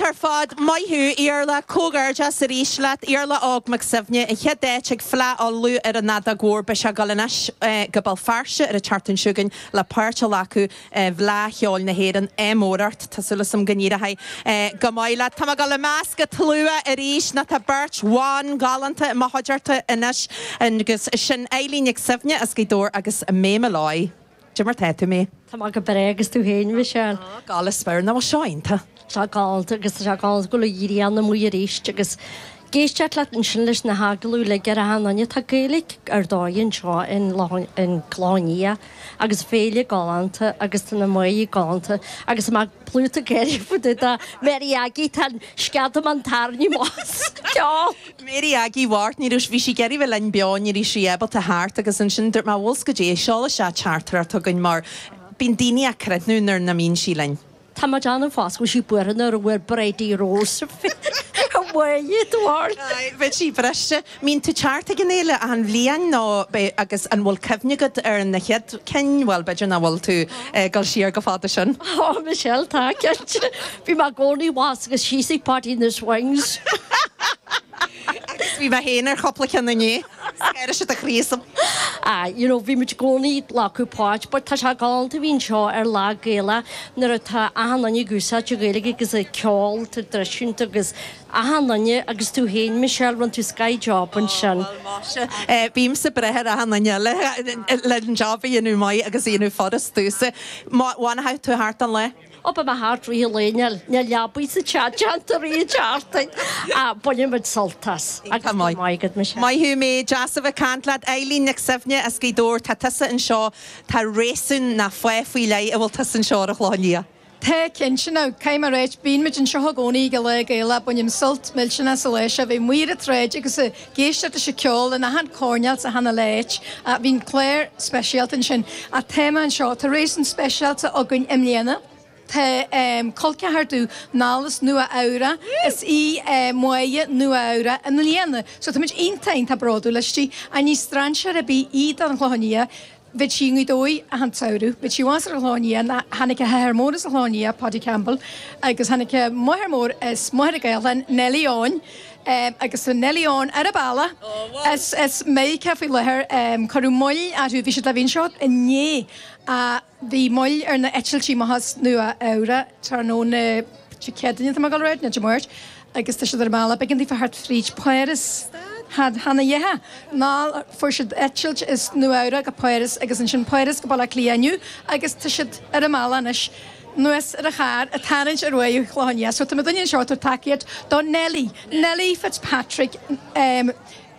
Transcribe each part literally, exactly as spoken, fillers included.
Galánta ar fad. Maith thú, Iarla. Comhghairdeas arís leat, Iarla Óg Mac Suibhne, an chéad áit ag Fleadh Uladh ar an fheadóg mhór. Beidh sé ag dul anois go Béal Feirste ar an tseachtain seo chugainn le páirt a ghlacadh i bhFleadh Cheoil na hÉireann. Ádh mór ort. Tá súil agam go n-éireoidh go maith leat. Tá mé ag dul i measc an tslua arís nó tá beirt bhan ghalánta i mo chuideachta anois agus sin Eileen Nic Suibhne as Gaoth Dobhair agus May Molloy. Cad é mar tá tú, May? Tá mé go breá agus tú féin, Michelle? Á, gabh i leith, nach bhfuil seo iontach? Tá galánta agus tá sé galánta go bhfuil an ghrian amuigh arís agus ag éisteacht leat ansin leis na hagallaimh uilig ar achan duine. Tá Gaeilge ar dóigh anseo in in Clochán Liath agus féile galánta agus tá na mná galánta agus tá mé plúchta gáire fá dtaobh de Mary Aggie tá an sceadamán tarraingthe amach as ceol. Mary Aggie Mháirt, ní raibh, bhí sí ag iarraidh bheith linn beo, ní raibh sí ábalta theacht agus ansin dúirt mé bhfuil 's goidé, seol isteach teachtaireacht chugainn mar bíonn daoine á cruithniú nuair nach mbíonn sí linn. Tá mé ag déanamh fós go bhfuil sí buartha nuair a bhfuair Bridie Rose uaidh do bharr. Aye, bheadh sí briste. Mbíonn tú teacht ag an fhéile achan bhliain nó agus an bhfuil cuimhne agat ar na chéad cinn, bhuel b'fhéidir nach bhfuil tú ag dul siar go fada sin. Ó Michelle tá cinnte. Bhí mé i gcónaí abhus agus síos ag Páidí na Swings. Agus bhí mé féin ar chúpla ceann inné. Scair siad a chríosam. Ah, you know, bhí muid i gcónaí ag glacadh páirt, but tá sé galánta a bhí anseo ar Lá Gaelach nuair atá achan duine ag úsáid an Ghaeilge agus ag ceol traidisiúnta agus achan duine agus tú féin, Michelle, rinne tú sky job ansin. Ó, bhuel, maise. Bímse ag brath ar achan duine eile le an job a dhéanamh maith agus a dhéanamh furast domhsa. Má bhainfidh tú thart an lá? Ó beidh mé thart rith an lae, níl níl leabaidh sa teach déanta rith an tseachtain ach bainfidh muid sult as agus Tá go maith. maith agat Michelle. Maith thú May, deas a bheith ag caint leat. Eileen Nic Suibhne as Gaoth Dobhair, tá tusa anseo, tá réasún ná fáth faoi leith a bhfuil tusa anseo ar an Chlochán Liath. Tá cinnte now, caithfidh mé a ráit, bíonn muid anseo i gcónaí ag Lá Gaelach, bainim sult millteanach as an lá seo, bheith amuigh ar an tsráid agus ag éisteacht leis an ceol in achan choirnéal sa achan áit. Bhí an clár speisialta ansin. Ach tá mé anseo, tá réasún speisialta againn i mbliana. Tá col ceathar domh anall as Nua Eabhrac, is í Máire Nua Eabhrac i mbliana. So tá muid iontach iontach bródúil aisti. Ach ní strainséir ar bith í don Chlochán Liath. Bheadh sí i nGaoth Dobhair achan tsamhradh. Bheadh sí abhus ar an Chlochán Liath ná tháinig a hathair mór as an Chlochán Liath, Paddy Campbell, agus tháinig a máthair mór as Machaire Gathlán, Nellie Eoin. Agus tá Nellie Eoin ar a bealach as as Meiriceá faoi láthair. Cuireadh moill orthu, bhí siad le bheith anseo inné. Bhí moill ar na eitiltí amach as Nua Eabhrac tráthnóna Dé Céadaoine, tá mé ag dul a ráit, nó Dé Máirt, agus tá siad ar a mbealach. B'éigean daofa theacht fríd Páras. Chan a dheithe ná fuair siad eitilt as Nua Eabhrac go Páras agus ansin Páras go Baile Átha Cliath inniu agus tá siad ar a mbealach anois anuas ar an charr ag tarraingt ar aghaidh an Chlocháin Liath. So tá muidinne anseo ag tabhairt tacaíocht do Nellie, Nellie Fitzpatrick,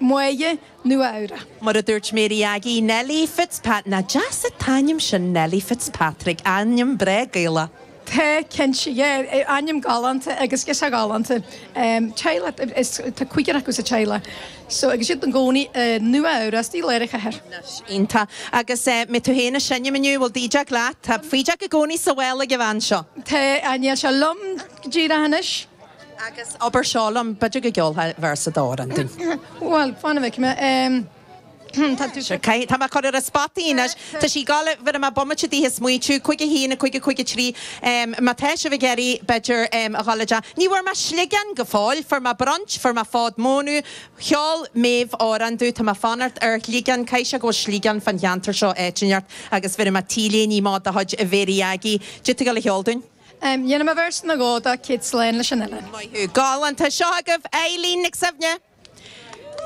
Máire Nua Eabhrac. Mar a dúirt Mary Aggie, Nellie Fitzpat, nach deas an t-ainm sin, Nellie Fitzpatrick, ainm breá Gaelach. Tá, cinnte, yeah, ainm galánta agus girseach galánta. Teaghlach, is, tá cúigear acu sa teaghlach. So, agus iad ina gcónaí i Nua Eabhrac, istigh i lár an chathair. Anois, iontach. Agus eh, mbeidh tú féin ag seinm inniu, bhfuil DJ leat? Tá foighdeach i gcónaí sa bhaile ag an bhean seo. Tá, níl sé liom go díreach anois. Agus abair seo liom, b'fhéidir go gceolfá véarsa d'amhrán dúinn. Bhuel, fan a bhfeicfidh mé. Tá tú. Sure, caithfidh, tá mé ag cur ar an spot í anois. Tá sí ag gabháil, bheir mé bomaite daoithe smaoitiú, cúig a haon, a cúig, a cúig a trí. Má tá sibh ag iarraidh, b'fhéidir, a dhul i dteach. Ní bhfuair mé sliogán go fóill, fuair mé brunch, fuair mé fód mónadh, cheol Méabh amhrán domh, tá mé ag fanacht ar shliogán, caithfidh sé go bhfuil sliogán fán cheantar seo áit inteacht agus bheir mé t-léine maith de chuid Mhary Aggie. Cad é tú ag gabháil a cheol dúinn? Dhéanfaidh mé véarsa nó dhó de Céad Slán leis an Oileán. Maith thú. Galánta. Seo agaibh Eileen Nic Suibhne.